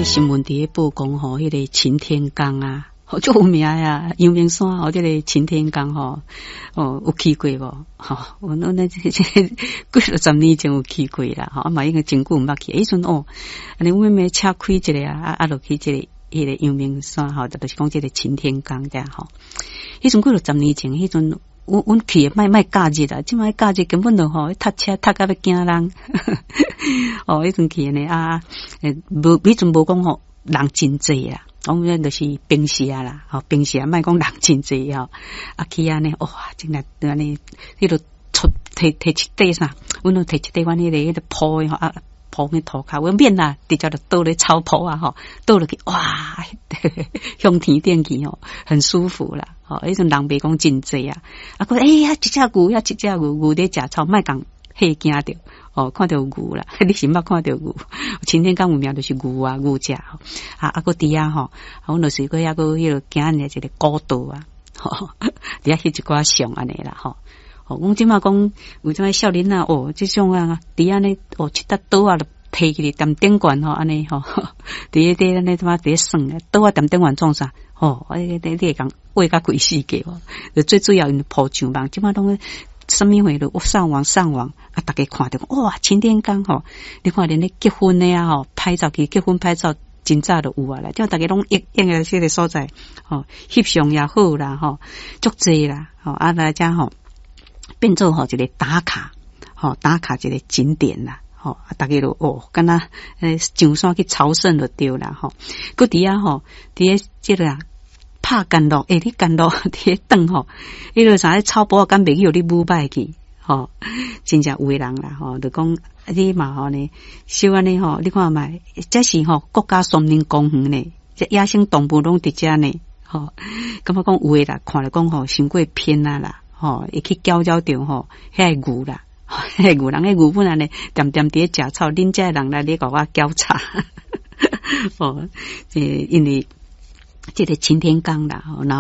新聞佇咧報講吼，彼個擎天崗啊，足有名啊，陽明山吼，這個擎天崗吼，哦，有去過無？吼，阮這幾落十年前有去過啦，吼，啊嘛已經真久毋捌去。彼陣哦，按呢阮妹妹車開一下啊，啊落去這個彼個陽明山吼，就是講這個擎天崗遮吼。彼陣幾落十年前，彼陣阮去的莫假日啦，這擺假日根本就吼，塞車塞甲欲驚人。哦，彼陣去的呢啊，無彼陣無講吼，人真濟啦。講阮就是平時啊啦，吼平時啊，莫講人真濟吼。啊去按呢，哇，真來按呢，彼個出提提一塊啥，阮攏提一塊阮彼個鋪的吼啊，鋪去塗跤，阮免啦，直接就倒咧草坡啊吼，倒落去，哇，向天頂去吼，很舒服啦。吼，彼陣人袂講真濟啊，啊，閣欸呀，一隻牛，遐一隻牛，牛咧食草，莫共嚇驚著。哦，看著牛啦，你是毋捌看著牛？擎天崗有名就是牛啊，牛食吼。啊啊，閣佇遐吼，阮就是閣抑閣彼個行按呢一個古道啊，吼，佇遐翕一寡相按呢啦吼。吼，阮這擺講有這少年仔哦，這種啊，佇按呢哦，一搭桌仔就提起來踮頂懸吼，按呢吼，佇咧按呢怎佇咧耍，桌仔踮頂懸創啥？吼，你會共畫甲規世界無？就最主要𪜶鋪上網，這擺攏啥物貨都上網上網啊！逐家看著哇，擎天崗吼，你看連咧結婚的啊吼，拍照去結婚拍照真早就有啊啦，這逐家攏約約個這個所在吼，翕相也好啦吼，足濟啦吼，啊來遮吼變做吼一個打卡吼，打卡一個景點啦吼，啊逐家都哦，敢若上山去朝聖就對啦吼，閣佇遐吼，佇咧這個啊。拍干樂，欸，你干樂佇咧轉吼，彼個啥草坡敢袂去予你舞擺去，吼，真正有的人啦，吼，就講你嘛吼呢，小按呢吼，你看覓，這是吼國家森林公園呢，這野生動物攏佇遮呢，吼，感覺講有的啦，看來講吼，傷過偏啊啦，吼，會去攪擾著吼，遐個牛啦，遐個牛，人彼牛本來呢，恬恬佇咧食草，恁遮的人來咧共我攪吵，吼，這因為這個擎天崗啦，吼，若。